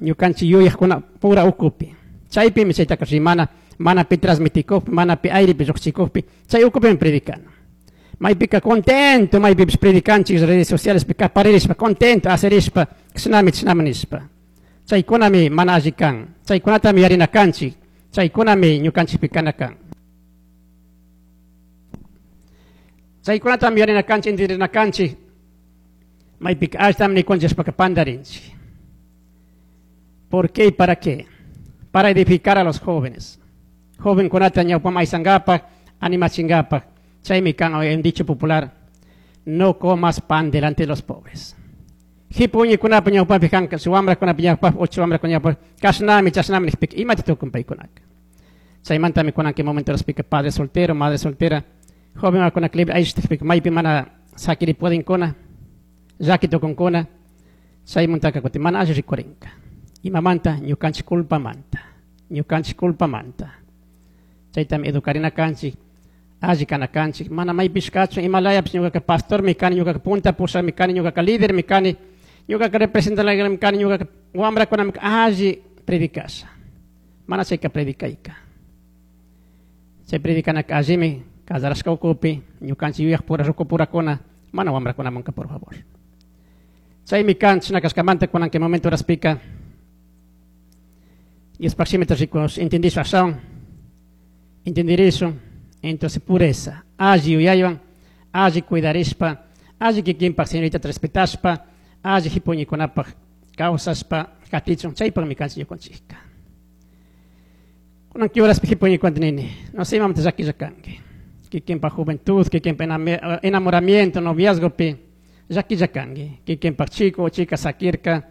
Ñukanchik yuyajkuna pura ukupi. Chaypimi chaytaka rimana, mana pi transmitikukpi, mana pi airepi lluqchikukpi, chay ukupimi predicana. Maypika contento, maypipish predicanchik redes socialespi kaparirishpa, contento, asirishpa, kishnami chishnami nishpa. Chaykunami mana alli kan. Chaykunatami yarina kanchik. Chaykunami ñukanchikpi kana kan. Chaykunatami yarina kanchik, entenderina kanchik. Maypika allitami nikunchishpaka pandarinchik. ¿Por qué y para qué? Para edificar a los jóvenes. Jovenkunata ñawpaman aysankapaj, animachinkapaj. Chaymi kan un dicho popular, no comas pan delante de los pobres. Hipuñikunapa ñawpapi kanka, su wamrakunapi ñawpapi, ocho wamrakuna ñawpapi, kashnami, chashnami nijpika, imata tukun paykunaka. Chaymantami kunan kay momento raspika padre soltero, madre soltera, joven kunaka libre ayshtijpika, maypi mana sakiri puedinkuna, llaki tukunkuna, chaymantaka kutin mana alli rikurinka. Imamanta, ñukanchik culpamanta, ñukanchik culpamanta. Chaytami educarina kanchik, alli kana kanchik, mana maypish kachun, imalayapish ñukaka pastormi kani, ñukaka punta pushakmi kani, ñukaka lídermi kani, ñukaka representantmi kani, ñukaka wamrakunami alli predicasha. Mana chayka predicayka. Chay predicanaka allimi, casarashka ukupi, ñukanchik yuyaj pura ruku purakuna, mana wamrakunamanka, por favor. Chaymi kan, chashna kashkamanta kunan kay momento horaspika, Diospaj shimita rikush, entendishpa ashawan, entendirishun, entonces pureza, alli yuyaywan, alli cuidarishpa, alli kikinpaj señorita respetashpa, alli hipuñikunapaj kawsashpa katichun, chaypaqmi kanchik ñukanchikka. Kunan kay horaspi hipuñikunata nini, no sé imamanta llakilla kanki, kikinpaj juventud, kikinpaj enamoramiento, noviazgopi, llakilla kanki, kikinpaj chico o chica sakirka,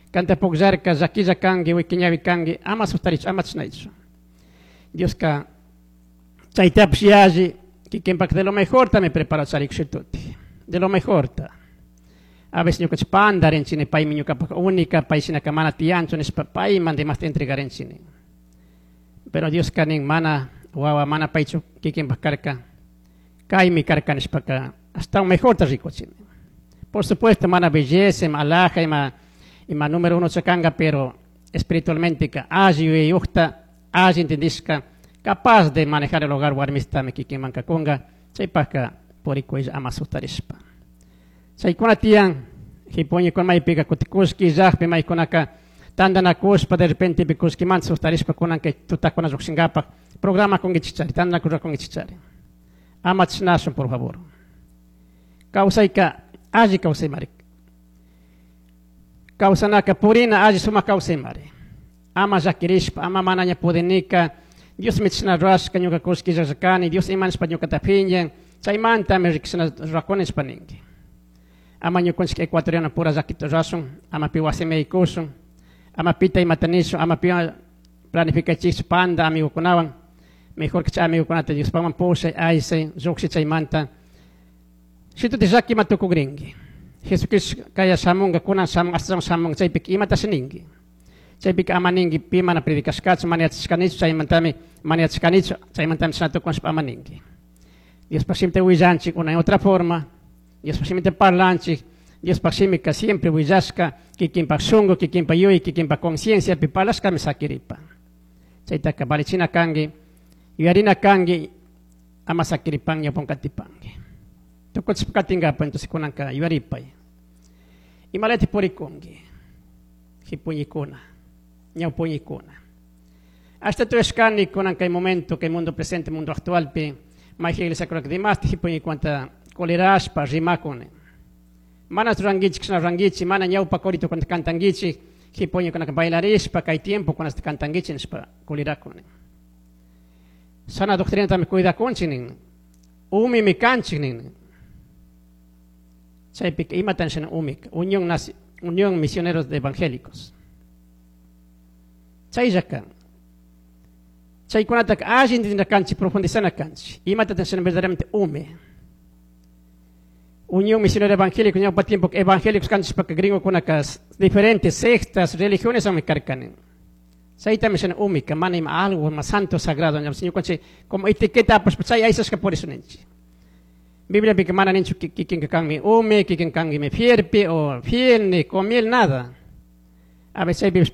kanta pukllarka, llakilla kanki, wikiñawi kanki, ama sustarichu, ama chishnaychu. Dioska chaytapish yalli, kikinpaj de lo mejor ta mi preparó charikushituti, de lo mejor ta. A veces ñukanchik pandarinchini, paymi ñukapak única, pay shinaka mana tiyanchu nishpa, payman demás entregarinchini. Pero Dioska nin mana wawa, mana paychu kikinpak karka, kaymi karka nishpaka, hasta un mejor ta rikuchini. Por supuesto, mana belleza, ima alhaja, ima número uno chakanga, pero espiritualmente ka alli yuyayukta, alli entendishka, capaz de manejar el hogar warmistami kikinman kakunga, chaypajka purikuylla ama sustarishpa. Chaykuna tiyan, hipuñikuna maypika kuti kullki illajpi maykunaka tantanakushpa, de repente pi kullkimanta sustarishpa kunan kay tutakuna llukshinkapak programa kunkichikchari, tantanakushpa kunkichikchari. Ama chishnashun, por favor. Kawsayka alli kawsaymari. Kawsanaka purina alli sumak kawsaymari. Ama llakirishpa, ama manaña pudinika, Dios mi chishna rurashka, ñuka kullki illashkani, Dios ima nishpa ñukata phiñan, chaymantami rikshina rurakuni nishpa ninki. Ama ñukanchik ecuatoriano pura llakita rurashun, ama pi wasimi yaykushun, ama pita imata nishun, ama pi planificachikchu panda amigokunawan, mejor que chay amigokunata Diospakman pushay, aysay, llukshi chaymanta. Shituti llaki ima tukukrinki. Jesucristo kaya shamunga, kunan shamunga, ashtawan shamunga, chaypika imatashi ninki. Chaypika ama ninki, pi mana predicashkachu, mana yachashkanichu, chaymantami mana yachashkanichu, chaymantami chashna tukunshpa ama ninki. Diospaj shimita willanchik una y otra forma, Diospaj shimita parlanchik, Diospaj shimika siempre willashka, kikinpaj shunku, kikinpaj yuyay, kikinpaj conciencia, pi parlashkami sakiripa. Chaytaka valichina kanki, yuyarina kanki, ama sakiripan, ñawpan katipanki. Tukuchishpa katinkapa, entonces kunanka yuyaripay. Imalati purikunki, hipuñikuna, ñawpuñikuna. Hasta tuyashkani kunan kay momento, kay mundo presente, mundo actualpi, mayjin iglesia kunaka dimasti hipuñikunata colerashpa rimakuni. Mana rurankichik, kishna rurankichik, mana ñawpa corito kunata cantankichik, hipuñikunaka bailarishpa, kay tiempo kunasta cantankichik nishpa colerakuni. Sana doctrinatami cuidakunchik nin, umimi kanchik nin. Chaypika imatan shina umik, Unión Misioneros de Evangélicos. Chaylla kan. Chaykunataka alli entendina kanchik, profundizana kanchik. Imatatan shina verdaderamente umi. Unión Misionera Evangélica, ñawpa tiempo evangélicos kanchishpaka gringokunaka diferentes sectas, religiones ami karkani. Chaytami shina umika, mana ima algo más santo, sagrado, ñam ñukanchik como etiqueta apashpa chay aysashka por eso ninchik. Biblia pika mana ninchu kikinka kanmi umi, kikin kanmi fierpi o fiel, ni comiel, nada. A veces chaypipish